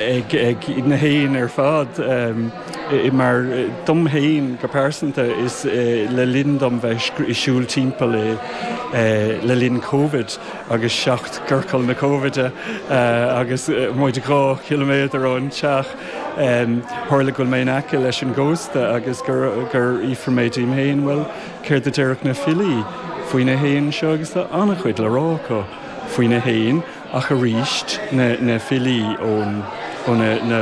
Ag na héin ar fad, mar dom féin go pearsanta, is le linn dom bheith ag siúl timpeall le linn Covid agus seacht gciorcal na Covide agus muid 2 chiliméadar ón teach, tharla go bhfuil mé in aice leis an gcósta agus gur fhiafraigh mé díom féin, bhuel, céard a déarfadh na filí faoi na héin seo agus tá an-chuid le rá acu faoi na héin. Ach arís, na filí ón ó na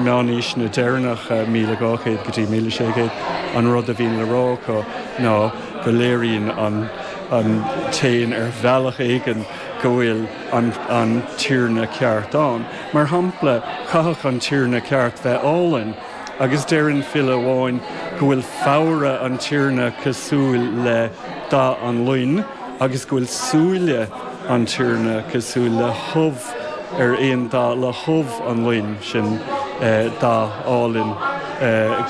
meánaoiseanna deireanacha, 1200 go dtí 1600, an rud a bhíonn le rá acu ná go léiríonn an an t-éan ar bhealach éigin go bhfuil an an tiarna ceart ann. Mar shampla, chaithfeadh an tiarna ceart bheith álainn, agus deireann file amháin go bhfuil foghar an tiarna cosúil le dath an loin agus go bhfuil súile an tiarna cosúil le hubh ar aon dath le hubh an loin, sin dath álainn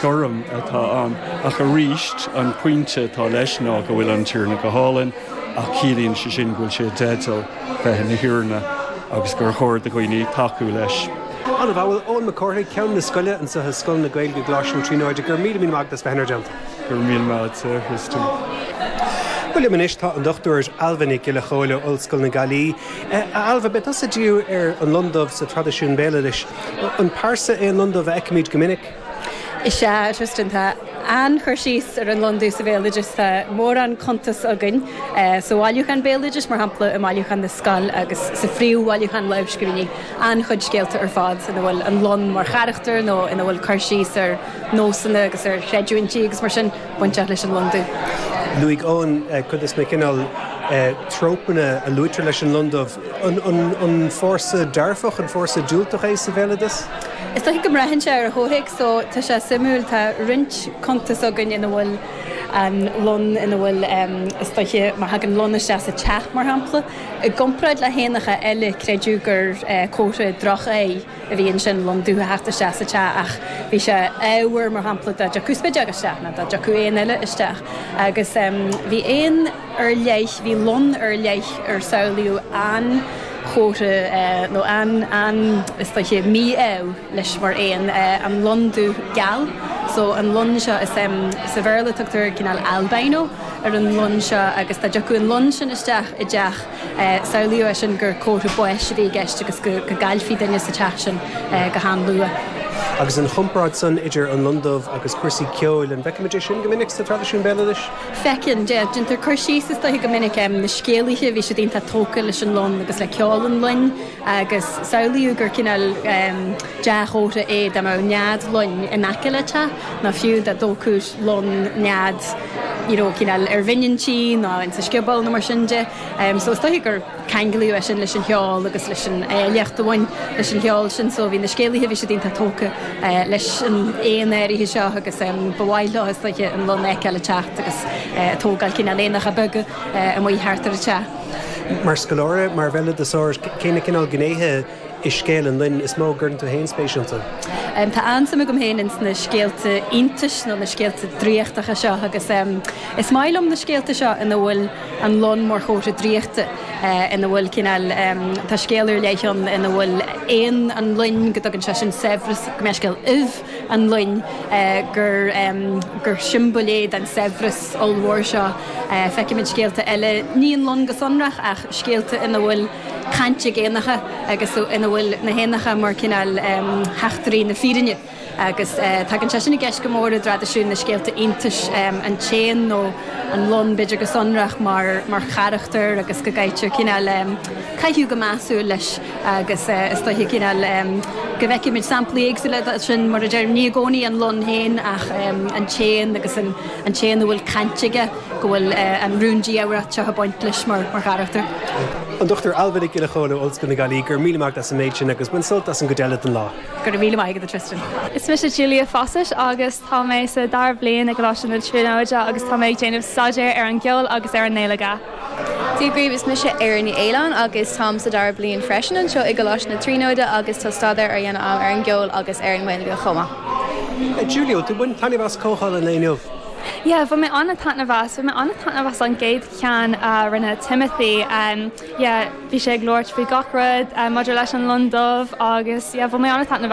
gorm atá ann. Ach arís, an pointe atá leis ná go bhfuil an tiarna go hálainn ach ciallaíonn sé sin go bhfuil sé i dteideal bheith ina thiarna agus gur chóir do dhaoine tacú leis. An-mhaith. Bhuel, Eoin Mac Cárthaigh, Ceann na Scoile anseo i Scoil na Gaeilge i gColáiste na Tríonóide, go raibh míle míle maith agat as bheith inár dteannta. Go raibh míle maith agat, a Thristan. Bhuel, liom anois tá an Dr Ailbhe Nic Giolla Chóill ó Ollscoil na Gaillimhe. A Ailbhe, beidh tusa ag díriú ar an lon dubh sa traidisiún béaloidis. An pearsa é an lon dubh a fheicimid go minic? Is ea, a Tristan, tá an-chur síos ar an lon dubh sa bhéaloideas. Tá mórán cuntas againn sa bhailiúchán béaloidis, mar shampla, i mbailiúchán na Scol agus sa phríomhbhailiúchán lámhscríbhinní, an-chuid scéalta ar fad ina bhfuil an lon mar charachtar nó ina bhfuil cur síos ar nósanna agus ar chreidiúintí agus mar sin bainteach leis an lon dubh. Luaigh Eoin cuid de na cineál trópanna a luaitear leis an lon dubh. An fórsa dearfach, an fórsa diúltach é sa bhéaloideas? Is dóiche go mbraitheann sé ar an chomhthéacs so tá sé suimiúil, tá roinnt cuntas againn ina bhfuil an lon, ina bhfuil, is dóiche, má thagann lon isteach sa teach mar shampla, i gcomparáid le héanacha eile, creideadh gur comhartha droch-ádh a bhí ansin, lon dubh a theacht isteach sa teach ach bhí sé ádhmhar mar shampla dá dtiocfadh spideog isteach nó dá dtiocfadh éan eile isteach agus bhí éan ar leith, bhí lon ar leith ar samhlaíodh an-chomhartha nó an, an, is dóiche, mí-ádh leis mar éan, an lon dubh geal. So an lon seo, is, sa Bhéarla tugtar cineál albino ar an lon seo agus dá dtiocfadh an lon sin isteach i dteach, samhlaíodh é sin gur comhartha báis a bhí i gceist agus go gcaillfí duine sa teach sin go han-luath. Agus an chomparáid san idir an lon dubh agus cúrsaí ceoil, an bhfeicimid é sin go minic sa traidisiún béaloidis? Feiceann, déantar cur síos is dóiche go minic, na scéalaithe, bhí siad iontach tógtha leis an lon agus le ceol an loin agus samhlaíodh gur cineál dea-chomhartha é dá mbeadh nead loin in aice le teach nó fiú dá dtógfadh lon nead you know cineál ar bhinn an tí nó insa scioból nó mar sin de. So is dóiche gur ceanglaíodh é sin leis an cheol agus leis an áilleacht a bhain leis an cheol sin. So bhí na scéalaithe, bhí siad iontach tógtha leis an éan áirithe seo agus ba mhaith leo is dóiche an lon a fheiceáil ag teacht agus ag tógáil cineál éanacha beaga amuigh thart ar an teach. Mar scoláire, mar bhéaloideasóir, cé na cineál gnéithe i scéal an loin is mó a gcuireann tú féin spéis iontu? Tá an-suim agam féin ins na scéalta iontais nó na scéalta draíochtacha seo agus is maith liom na scéalta seo ina bhfuil an lon mar chomhartha draíochta, ina bhfuil cineál, tá scéal ar leith ann ina bhfuil éan an loin, go dtugann sé sin saibhreas, go mbeadh scéal ubh an loin, gur, gur siombail é den saibhreas ollmhór seo. Feicimid scéalta eile, ní an lon go sonrach ach scéalta ina bhfuil caint ag éanacha agus ina bhfuil na héanacha mar cineál theachtairí na fírinne. Agus tagann sé sin i gceist go mór i dtraidisiún na scéalta iontais, an t-éan nó an lon b'fhéidir go sonrach mar mar charachtar agus go gcaitear cineál caitheamh go measúil leis agus is dóiche cineál go bhfeicimid samplaí éagsúla de sin mar a deirim, ní i gcónaí an lon féin ach an t-éan agus an t-éan a bhfuil caint aige, go bhfuil an rúndiamhracht seo ag baint leis mar charachtar. An Dr Ailbhe Nic Giolla Chóill ó Ollscoil na Gaillimhe, go raibh míle maith agat as an méid sin agus bain sult as an gcuid eile den lá. Go raibh míle maith agat, a Tristan. Is mise Julia Fawcett agus tá mé sa dara bliain i gColáiste na Tríonóide agus tá mé ag déanamh staidéar ar an gceol agus ar an nGaeilge. Dia dhaoibh, is mise Erin Ní Fhaoláin agus táim sa dara bliain freisin anseo i gColáiste na Tríonóide agus tá staidéar á dhéanamh agam ar an gceol agus ar an nGaeilge chomh maith. Julia, tú ag baint taitneamh as comhdháil an lae inniu? Yeah, bhain mé an-taitneamh as. Bhain mé an-taitneamh as an gcéad cheann a rinne Timothy. Yeah, bhí sé ag labhairt faoi gach rud maidir leis an lon dubh agus yeah, bhain mé an-taitneamh as.